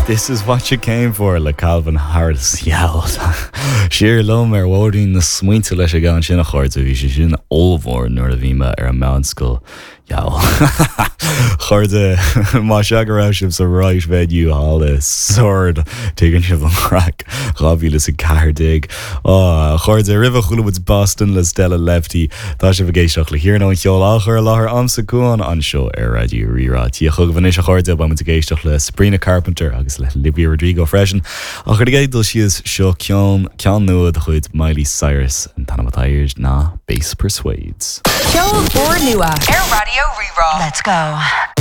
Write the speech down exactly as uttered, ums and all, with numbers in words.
This is what you came for le Calvin Harris Siar liom ar bhóithrín na smaointe leis an gceann sin a chairde bhí sé sin ollmhór nuair a bhí mé ar an meánscoil. Chairde má sea go raibh sibh sa right venue thall i Sord tuigeann sibh an craic dhá mhíle is a ceathair déag. Chairde roimhe chuala muid Boston le Stella Lefty Tá sibh ag éisteacht le hiarnó an cheol á chur i láthair agamsa Cuan anseo ar Raidió Rí-Rá. Tí chugaibh anois a chairde beidh muid ag éisteacht le Sabrina Carpenter agus le Olivia Rodrigo freisin ach ar an dul síos seo ceann ceann nua de chuid Miley Cyrus an t-ainm atá air ná Bass Persuades. Ceol úrnua ar Raidió Rí-Rá. Let's go.